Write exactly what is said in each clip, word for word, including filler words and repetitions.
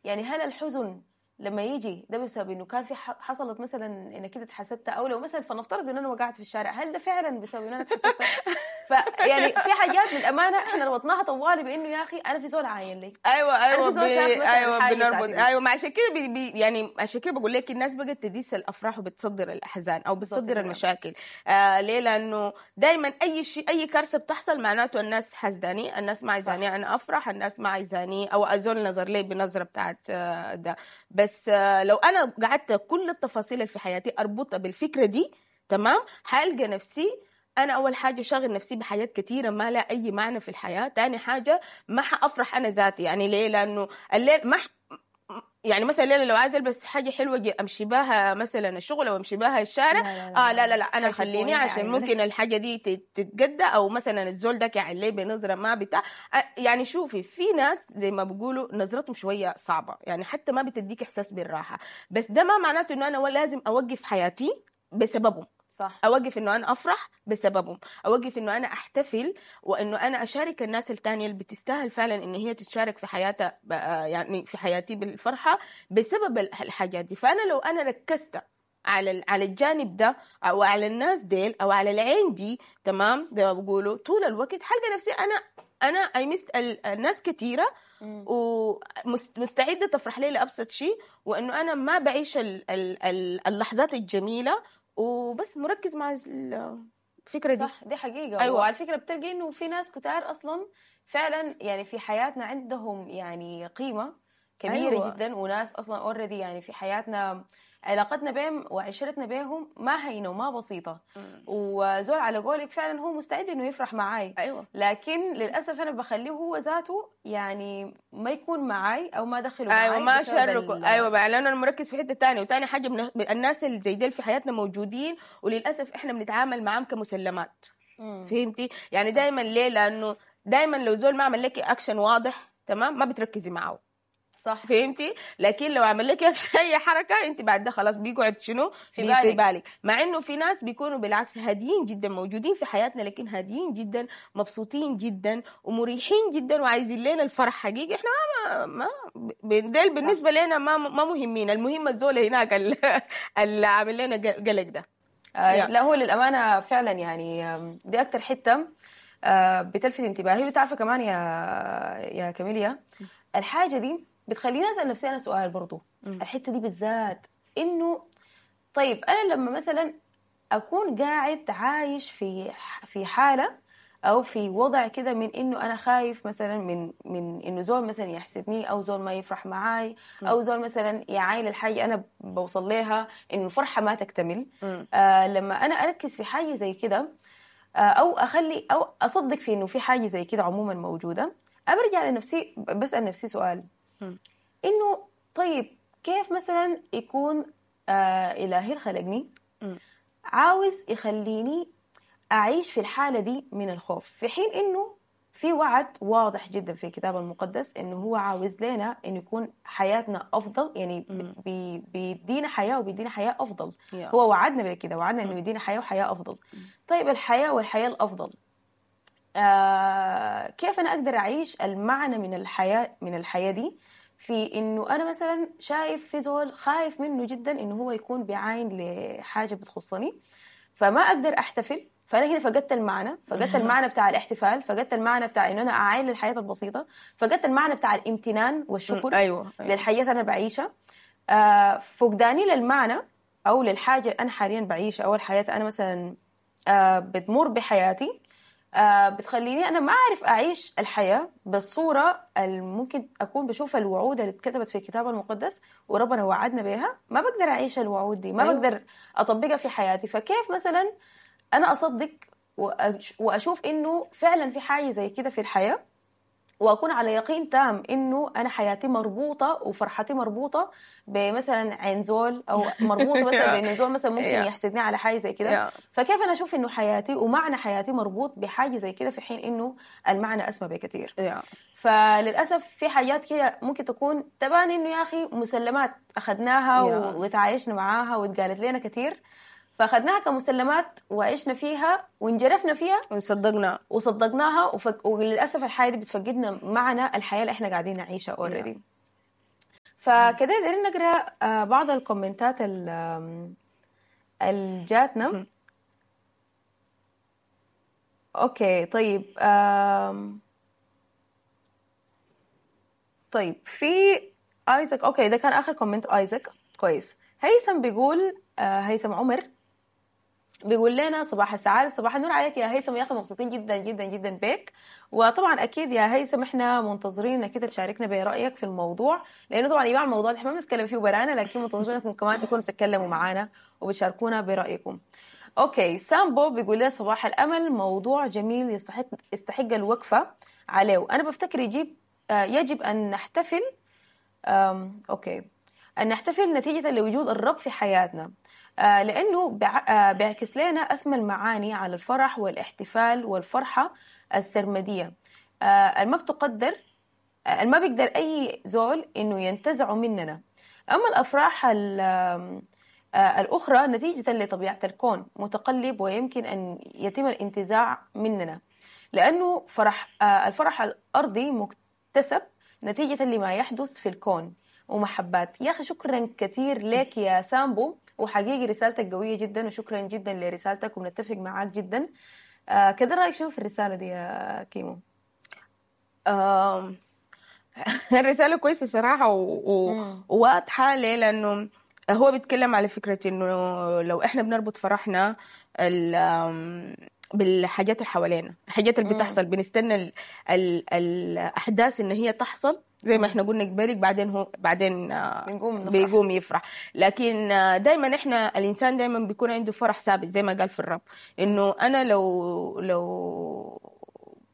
يعني هل الحزن لما يجي ده بسبب انه كان في حصلت مثلا انك كده اتحسدت، او لو مثلا فنفترض ان انا وقعت في الشارع، هل ده فعلا بسبب ان انا اتحسدت؟ فيعني في حاجات للامانة احنا ربطناها طوالي بانه يا اخي انا في زول عاين لي. ايوه ايوه بي... ايوه بنربط. ايوه ما عشان كده بي... بي... يعني عشان كده بقول لك الناس بقت تديس الافراح وبتصدر الاحزان او بتصدر المشاكل. آه ليه؟ لانه دائما اي شيء اي كارثة بتحصل معناته الناس حزداني، الناس ما عايزاني انا افرح، الناس ما عايزاني او ازول نظر لي بنظره بتاعت ده. بس لو انا قعدت كل التفاصيل اللي في حياتي اربطها بالفكرة دي، تمام، حالقى نفسي انا اول حاجة شاغل نفسي بحاجات كثيرة ما لها اي معنى في الحياة. ثاني حاجة ما حافرح انا ذاتي. يعني ليه؟ لانه الليل ما ح... يعني مثلا الليلة لو عايز البس حاجة حلوة امشي بها مثلا الشغل او امشي بها الشارع، لا لا لا اه لا لا, لا انا خليني عشان ممكن الحاجة دي تتجدى، او مثلا الزول ده يعني ليه بنظره ما بتاع. يعني شوفي في ناس زي ما بيقولوا نظرتهم شوية صعبة، يعني حتى ما بتديك احساس بالراحة. بس ده ما معناته انه انا لازم اوقف حياتي بسببهم. صح. اوقف انه انا افرح بسببهم، اوقف انه انا احتفل وانه انا اشارك الناس التانية اللي بتستاهل فعلا ان هي تتشارك في حياتها، يعني في حياتي بالفرحه بسبب الحاجات دي. فانا لو انا ركزت على على الجانب ده او على الناس ديل او على العين دي، تمام، زي ما بيقولوا، طول الوقت حلقة نفسي انا انا I missed الناس كثيرة ومستعده تفرح لي لابسط شيء، وانه انا ما بعيش اللحظات الجميلة وبس مركز مع الفكرة دي. صح، دي حقيقة. أيوة. وعلى فكرة بتلقي إنه في ناس كتار أصلا فعلا يعني في حياتنا عندهم يعني قيمة كبيرة. أيوة. جدا، وناس أصلا already يعني في حياتنا علاقتنا بهم وعشرتنا بهم ما هينة وما بسيطة. مم. وزول على قولك فعلا هو مستعد إنه يفرح معاي. أيوة. لكن للأسف أنا بخليه هو ذاته يعني ما يكون معاي أو ما دخله معاي. أيوة ما شاركه. أيوة بقى لأنه أنا مركز في حتة تانية. وتاني حاجة من... الناس اللي زي ديل في حياتنا موجودين، وللأسف إحنا بنتعامل معاهم كمسلمات. مم. فهمتي؟ يعني دايما ليه؟ لأنه دايما لو زول ما عمل لك أكشن واضح، تمام، ما بتركزي معه. صح. فهمتي؟ لكن لو عمل لك اي حركة انت بعد ده خلاص بيقعد شنو في بالك. في بالك. مع انه في ناس بيكونوا بالعكس هاديين جدا، موجودين في حياتنا لكن هاديين جدا، مبسوطين جدا ومريحين جدا وعايزين لنا الفرح حقيقي. احنا ما ما ديل بالنسبة لنا ما ما مهمين، المهم الزول هناك اللي عامل لنا قلق ده. آه لا هو للامانة فعلا يعني دي اكتر حتة آه بتلفت انتباهي. وتعرفي كمان يا يا كاميليا الحاجة دي بتخليني أسأل نفسي أنا سؤال برضو. م. الحتة دي بالذات إنه طيب أنا لما مثلا أكون قاعد عايش في في حالة أو في وضع كده من إنه أنا خايف مثلا من من إنه زول مثلا يحسدني، أو زول ما يفرح معاي، أو زول مثلا يعاين الحاجة أنا بوصل لها إنه الفرحة ما تكتمل. آه لما أنا أركز في حاجة زي كده، آه أو أخلي أو أصدق في إنه في حاجة زي كده عموما موجودة، أرجع لنفسي بسأل نفسي سؤال إنه طيب كيف مثلا يكون آه إلهي خلقني عاوز يخليني أعيش في الحالة دي من الخوف، في حين إنه في وعد واضح جدا في الكتاب المقدس إنه هو عاوز لنا إنه يكون حياتنا أفضل، يعني بي بيدينا حياة وبيدينا حياة أفضل. yeah. هو وعدنا بكده، وعدنا إنه يدينا حياة وحياة أفضل. طيب الحياة والحياة الأفضل، آه كيف أنا أقدر أعيش المعنى من الحياة من الحياة دي في إنه أنا مثلا شايف في زول خايف منه جدا إنه هو يكون بيعاين لحاجة بتخصني، فما أقدر أحتفل. فأنا هنا فقدت المعنى، فقدت المعنى بتاع الاحتفال، فقدت المعنى بتاع إنه أنا أعاين للحياة البسيطة، فقدت المعنى بتاع الامتنان والشكر. أيوة. أيوة. للحياة أنا بعيشها. آه فقداني للمعنى أو للحاجة أنا حاليا بعيشها أو الحياة أنا مثلا آه بتمر بحياتي، آه بتخليني أنا ما أعرف أعيش الحياة بالصورة اللي ممكن أكون بشوف الوعود اللي اتكتبت في الكتاب المقدس وربنا وعدنا بها. ما بقدر أعيش الوعود دي، ما أيوة. بقدر أطبقها في حياتي. فكيف مثلا أنا أصدق وأشوف إنه فعلا في حاجة زي كده في الحياة، وأكون على يقين تام إنه أنا حياتي مربوطة وفرحتي مربوطة بمثلا عين زول، أو مربوطة مثلا بإنه زول مثلا ممكن يحسدني على حاجة زي كده. فكيف أنا أشوف إنه حياتي ومعنى حياتي مربوط بحاجة زي كده في حين إنه المعنى أسمى بكثير؟ فللأسف في حاجات كده ممكن تكون تبان إنه يا أخي مسلمات أخذناها وتعايشنا معاها واتقالت لنا كثير، فأخذناها كمسلمات وعشنا فيها وانجرفنا فيها وصدقنا وصدقناها وفك... وللأسف الحياة دي بتفقدنا معنى الحياة اللي احنا قاعدين نعيشها already. فكده دايرين نقرا آه، بعض الكومنتات ال- آم، اللي جاتنا. okay طيب، آم، طيب في ايزك، okay ده كان اخر comment ايزك. كويس. هيثم بيقول، آه هيثم عمر بيقول لنا صباح السعادة، صباح النور عليك يا هيثم، يا أخي مبسوطين جدا جدا جدا بك. وطبعا أكيد يا هيثم إحنا منتظرين إنك أنت تشاركنا برأيك في الموضوع، لأنه طبعا يا جماعة الموضوع ده إحنا ما بنتكلم فيه برانا، لكن منتظرين إنكم كمان تكونوا بتتكلموا معانا وبتشاركونا برأيكم. okay سامبو بيقول لنا صباح الأمل، موضوع جميل يستحق يستحق الوقفة عليه. أنا بفتكر يجيب آه، يجب أن نحتفل، أم، okay أن نحتفل نتيجة لوجود الرب في حياتنا، آه، لأنه بع- آه، بيعكس لنا أسمى المعاني على الفرح والاحتفال والفرحة السرمدية، آه، الما بتقدر، آه، الما بيقدر أي زول إنه ينتزعه مننا. أما الأفراح ال- آم، آه، الأخرى نتيجة لطبيعة الكون متقلب ويمكن أن يتم الانتزاع مننا، لأنه فرح آه، الفرح الأرضي مكتسب نتيجة لما يحدث في الكون ومحبات. يا أخي شكرا كثير لك يا سامبو، وحقيقي رسالتك قوية جدا، وشكرا جدا لرسالتك وبنتفق معاك جدا. آه كده رأيك شنو في الرسالة دي يا كيمو؟ آم، الرسالة كويسة صراحة و... و... مم. وواضحة. ليه؟ لأنه هو بيتكلم على فكرة إنه لو إحنا بنربط فرحنا ال... آم، بالحاجات اللي حوالينا، الحاجات اللي مم. بتحصل، بنستنى ال... ال... الأحداث إن هي تحصل زي ما مم. إحنا قلنا قبلك، بعدين هو بعدين آه، بنقوم نفرح. بيقوم يفرح. لكن آه، دايما إحنا الإنسان دايما بيكون عنده فرح ثابت زي ما قال في الرب، إنه أنا لو لو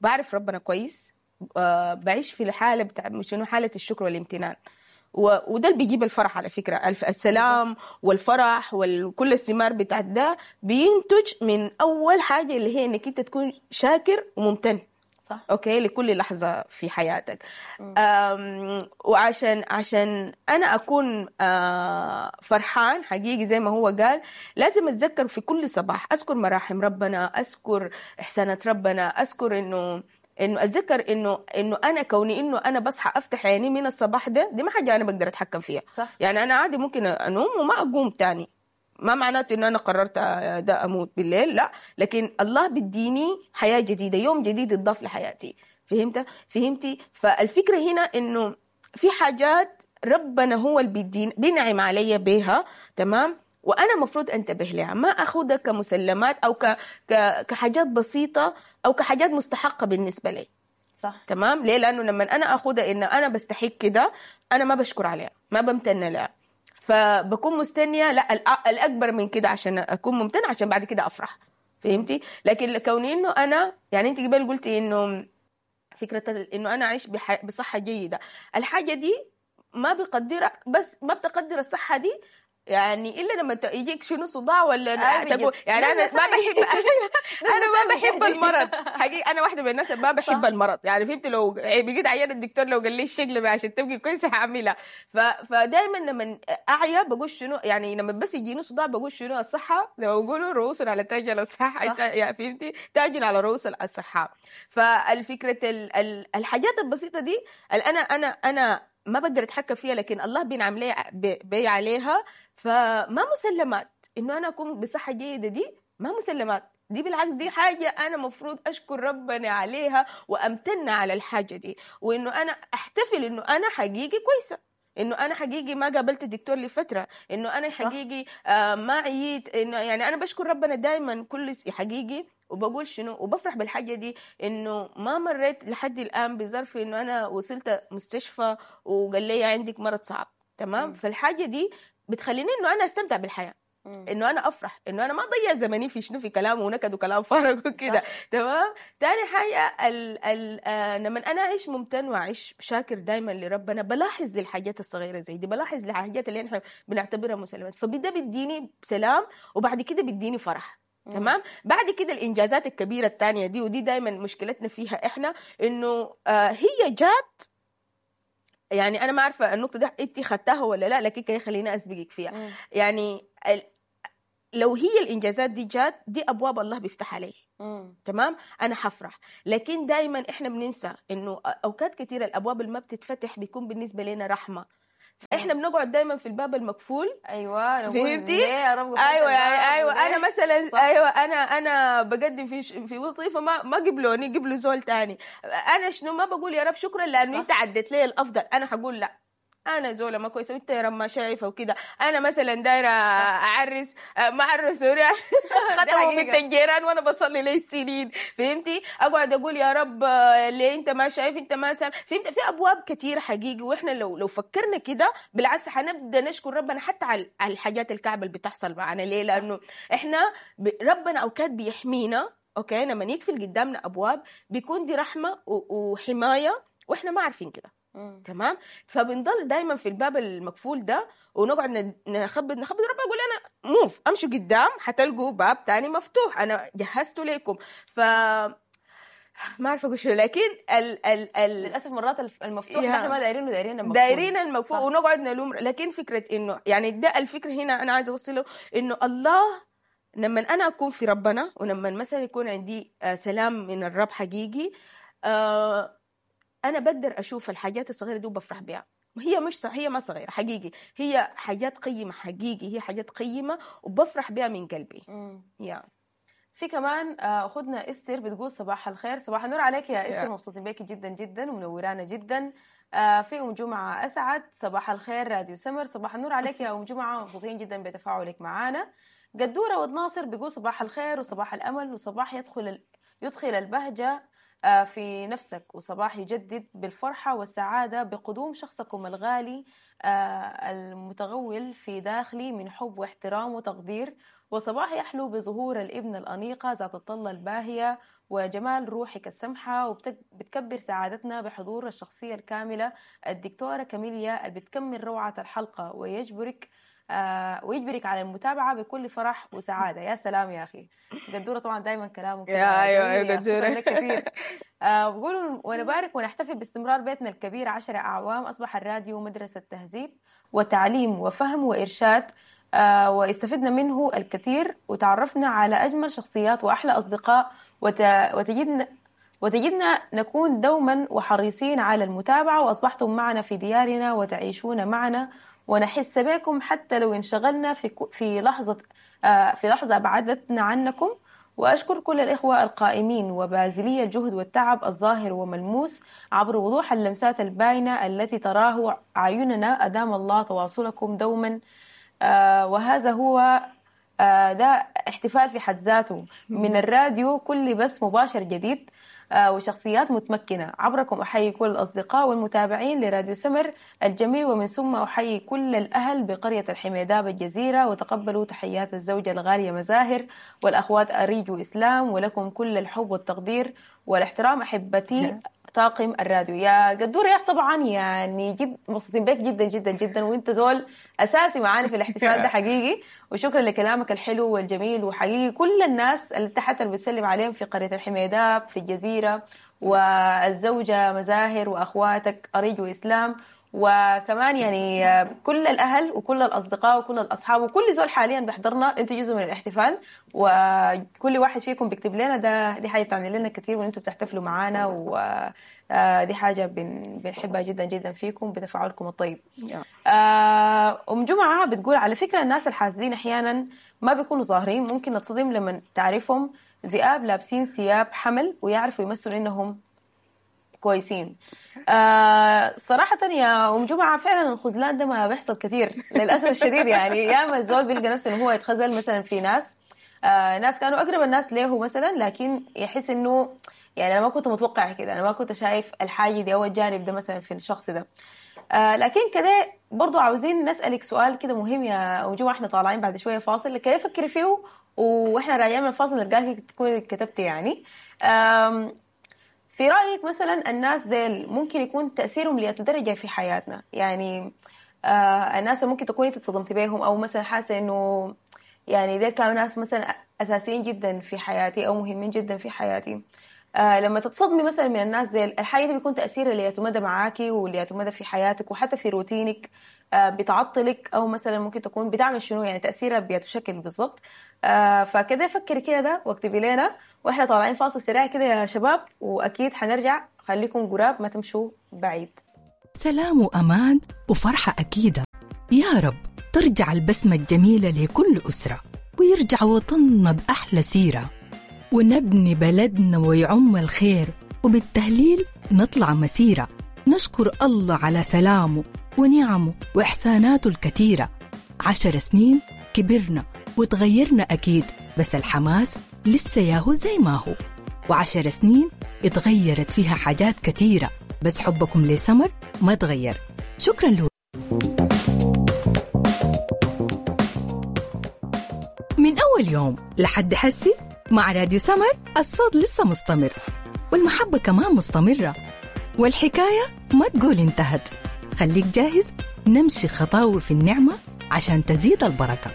بعرف ربنا كويس، آه، بعيش في الحالة بتاع شنو، حالة الشكر والامتنان، و- وده اللي بيجيب الفرح على فكرة. الف- السلام بالظبط. والفرح وكل الثمار بتاعت ده بينتج من أول حاجة اللي هي إنك أنت تكون شاكر وممتن، صح. okay، لكل لحظة في حياتك. مم. أم، وعشان عشان أنا أكون آه، فرحان حقيقي زي ما هو قال، لازم أتذكر في كل صباح، أذكر مراحم ربنا، أذكر إحسانات ربنا، أذكر إنه إنه أتذكر إنه إنه أنا كوني إنه أنا بصحى أفتح عيني من الصباح ده، دي ما حاجة أنا بقدر أتحكم فيها. صح. يعني أنا عادي ممكن أنوم وما أقوم تاني، ما معناته إنه أنا قررت ده أموت بالليل، لا، لكن الله بيديني حياة جديدة، يوم جديد يتضاف لحياتي. فهمت؟ فهمتي؟ فالفكرة هنا إنه في حاجات ربنا هو اللي بيدين بينعم علي بيها، تمام، وأنا مفروض أنتبه لها، ما أخذها كمسلمات أو ك... ك... كحاجات بسيطة أو كحاجات مستحقة بالنسبة لي. صح. تمام؟ ليه؟ لأنه لما أنا أخذها إن أنا بستحق كده، أنا ما بشكر عليها، ما بمتن لها، فبكون مستنية لا الأ- الأكبر من كده عشان أكون ممتنة، عشان بعد كده أفرح. فهمتي؟ لكن كوني إنه أنا، يعني أنت قبل قلتي إنه فكرة إنه أنا أعيش بح... بصحة جيدة، الحاجة دي ما بقدرها، بس ما بتقدر الصحة دي يعني إلا لما ت- يجيك شنو صداع ولا آه، بجد. تقول يعني لا، أنا لا، ما بحب أنا ما بحب بجد. المرض حقيقي، أنا واحدة من الناس ما بحب صح. المرض. يعني فهمت؟ لو بقيت عيان الدكتور لو قال لي الشغلة عشان تبقي كويسة هعملها. ف... فدايما لما أعيا بقول شنو، يعني لما بس يجيني صداع بقول شنو، الصحة زي ما بيقولوا رؤوس على تاج الصحة، صح. يعني فهمتي؟ تاج على رؤوس الصحة. فالفكرة ال... ال... الحاجات البسيطة دي اللي أنا أنا أنا ما بقدر أتحكم فيها، لكن الله بينعم لي بي عليها. فما مسلمات إنه أنا أكون بصحة جيدة، دي ما مسلمات، دي بالعكس دي حاجة أنا مفروض أشكر ربنا عليها وأمتن على الحاجة دي، وإنه أنا أحتفل إنه أنا حقيقي كويسة، إنه أنا حقيقي ما قابلت الدكتور لفترة، إنه أنا صح. حقيقي آه ما عييت، إنه يعني أنا بشكر ربنا دايما كل س- حقيقي، وبقول شنو وبفرح بالحاجة دي، إنه ما مريت لحد الآن بظرف إنه أنا وصلت مستشفى وقال لي عندك مرض صعب. تمام؟ مم. فالحاجة دي بتخليني إنه أنا أستمتع بالحياة، مم. إنه أنا أفرح، إنه أنا ما أضيع زمني في شنو، في كلام ونكد وكلام فارغ وكده. تمام؟ تاني حاجة ال ال آه لما أنا أعيش ممتن وأعيش شاكر دايما لربنا، بلاحظ للحاجات الصغيرة زي دي، بلاحظ للحاجات اللي إحنا بنعتبرها مسلمات، فبدا بيديني سلام، وبعد كده بيديني فرح. مم. تمام؟ بعد كده الإنجازات الكبيرة التانية دي، ودي دايما مشكلتنا فيها إحنا، إنه آه هي جات، يعني أنا ما عارفة النقطة دي أنت خدتها ولا لا، لكن كده خليني أسبقك فيها. مم. يعني ال- لو هي الإنجازات دي جات، دي أبواب الله بيفتح علي. مم. تمام؟ أنا حفرح. لكن دايما إحنا بننسى إنه أوقات كثيرة الأبواب اللي ما بتتفتح بيكون بالنسبة لنا رحمة. احنا بنقعد دايما في الباب المقفول. ايوه نقول فهمتي؟ ليه يا رب قفلت ايوه يعني الباب ايوه وليه؟ انا مثلا صح. ايوه انا انا بقدم في ش- في وظيفة ما ما قبلوني، قبلوا زول تاني. انا شنو ما بقول يا رب شكرا لانه صح. انت عديت لي الافضل، انا حقول لا انا زوله ما كويسة وانت يا رب ما شايفه وكده. انا مثلا دايرة اعرس، آه، ما عرسوني ختموا حقيقة. بنت الجيران وانا بصلي لي سنين، فهمتي؟ اقعد اقول يا رب آه، ليه انت ما شايف، انت ما سامع، فهمت؟ في ابواب كثيرة حقيقي، واحنا لو لو فكرنا كده بالعكس حنبدا نشكر ربنا حتى على على الحاجات الكعبة اللي بتحصل معنا. ليه؟ لانه احنا ب- ربنا اوقات بيحمينا، okay، لما يقفل قدامنا ابواب بيكون دي رحمه و- وحماية، واحنا ما عارفين كده. مم. تمام؟ فبنضل دايما في الباب المقفول ده ونقعد ن- نخبط نخبط، ربنا يقول انا move، امشوا قدام حتلقوا باب تاني مفتوح، انا جهزته لكم. ف ما عارفه اقول شنو، لكن ال ال ال للاسف مرات الف- المفتوح يا. ده احنا ما دايرينه، دايرين المقفول. دايرين المقفول صح. ونقعد نلوم. لكن فكرة انه يعني ده الفكرة هنا انا عايزه اوصله، انه الله لما انا اكون في ربنا، ولما مثلا يكون عندي آه، سلام من الرب حقيقي، آه، انا بقدر اشوف الحاجات الصغيرة دي وبفرح بها. هي مش ص- هي ما صغيرة حقيقي، هي حاجات قيمة حقيقي، هي حاجات قيمة وبفرح بها من قلبي. مم. يا في كمان آه، اخوتنا استر بتقول صباح الخير، صباح النور عليك يا استر، يا. مبسوطين بيكي جدا جدا ومنورانا جدا. آه، في ام جمعه اسعد، صباح الخير راديو سمر، صباح النور عليك يا ام جمعه، مبسوطين جدا بتفاعلك معانا. قدوره ود ناصر بيقول صباح الخير وصباح الامل وصباح يدخل ال... يدخل البهجة آه، في نفسك، وصباح يجدد بالفرحة والسعادة بقدوم شخصكم الغالي آه، المتغول في داخلي من حب واحترام وتقدير، وصباح يحلو بظهور الابن الأنيقة ذات الطلة الباهية وجمال روحك السمحة، وبتكبر سعادتنا بحضور الشخصية الكاملة الدكتورة كاميليا اللي بتكمل روعة الحلقة ويجبرك آه ويجبرك على المتابعة بكل فرح وسعادة. يا سلام يا أخي قدورة، طبعا دايما كلامه كده يا أيوة، جميل أيوة يا أخي، شكرا قدورة. لك كثير. آه بقولوا ونبارك ونحتفل باستمرار بيتنا الكبير عشرة أعوام. أصبح الراديو مدرسة تهذيب وتعليم وفهم وإرشاد، آه واستفدنا منه الكثير وتعرفنا على أجمل شخصيات وأحلى أصدقاء، وت... وتجدنا وتجدنا نكون دوما وحريصين على المتابعة، وأصبحتم معنا في ديارنا وتعيشون معنا ونحس بكم حتى لو انشغلنا في في لحظة آه في لحظة أبعدتنا عنكم. وأشكر كل الإخوة القائمين وبازلي الجهد والتعب الظاهر وملموس عبر وضوح اللمسات الباينة التي تراه أعيننا. أدام الله تواصلكم دوما. آه وهذا هو آه ده احتفال في حد ذاته من الراديو، كل بث مباشر جديد آه وشخصيات متمكنة. عبركم أحيي كل الأصدقاء والمتابعين لراديو سمر الجميل، ومن ثم أحيي كل الأهل بقرية الحميداب الجزيرة، وتقبلوا تحيات الزوجة الغالية مزاهر والأخوات أريج وإسلام، ولكم كل الحب والتقدير والاحترام أحبتي طاقم الراديو. يا قدورة يا أخ، طبعا يعني جد مبسوطين بك جدا جدا جدا، وانت زول اساسي معانا في الاحتفال ده حقيقي، وشكرا لكلامك الحلو والجميل. وحقيقي كل الناس اللي تحت اللي بتسلم عليهم في قرية الحميداب في الجزيرة، والزوجة مزاهر وأخواتك أريج وإسلام، وكمان يعني كل الأهل وكل الأصدقاء وكل الأصحاب وكل زول حاليا بيحضرنا، انتوا جزء من الاحتفال، وكل واحد فيكم بيكتب لنا، ده دي حاجة بتعني لنا كثير وانتوا بتحتفلوا معانا، ودي حاجة بن بنحبها جدا جدا فيكم بتفاعلكم الطيب. آه، أم جمعة بتقول على فكرة الناس الحاسدين أحيانا ما بيكونوا ظاهرين، ممكن نتصدم لما تعرفهم ذئاب لابسين ثياب حمل ويعرفوا يمثلوا إنهم كويسين. آه صراحة يا أم جمعة فعلا الخذلان ده ما بيحصل كثير للأسف الشديد، يعني ياما الزول بيلقى نفسه إنه هو يتخذل مثلا في ناس، آه ناس كانوا أقرب الناس له مثلا، لكن يحس إنه يعني أنا ما كنت متوقع كده، أنا ما كنت شايف الحاجة دي أو الجانب ده مثلا في الشخص ده. آه لكن كده برضو عاوزين نسألك سؤال كده مهم يا أم جمعة، احنا طالعين بعد شوية فاصل، كده فكري فيه واحنا راجعين من الفاصل نلقاك تكوني كتبتي يعني. آم في رأيك مثلا الناس ديل ممكن يكون تأثيرهم لأي درجة في حياتنا؟ يعني آه الناس اللي ممكن تكوني اتصدمتي بيهم، أو مثلا حاسة إنه يعني ديل كانوا ناس مثلا أساسيين جدا في حياتي أو مهمين جدا في حياتي، آه لما تتصدمي مثلا من الناس ديل، الحاجة دي بيكون تأثيرها لأي مدى معاكي ولأي مدى في حياتك وحتى في روتينك، آه بتعطلك أو مثلا ممكن تكون بتعمل شنو، يعني تأثيرها بيتشكل بالضبط. آه فكده فكري كده ده واكتبي لنا، واحنا طالعين فاصل سريع كده يا شباب، واكيد حنرجع، خليكم قراب ما تمشوا بعيد. سلام وأمان وفرحة أكيدة. يا رب ترجع البسمة الجميلة لكل أسرة، ويرجع وطننا بأحلى سيرة، ونبني بلدنا ويعم الخير، وبالتهليل نطلع مسيرة. نشكر الله على سلامه ونعمه وإحساناته الكثيرة. عشر سنين كبرنا وتغيرنا أكيد، بس الحماس لسه ياهو زي ما هو. وعشر سنين اتغيرت فيها حاجات كثيرة، بس حبكم لسمر ما تغير. شكرا له. من أول يوم لحد حسي مع راديو سمر الصوت لسه مستمر، والمحبة كمان مستمرة، والحكاية ما تقول انتهت. خليك جاهز، نمشي خطاوي في النعمة عشان تزيد البركة.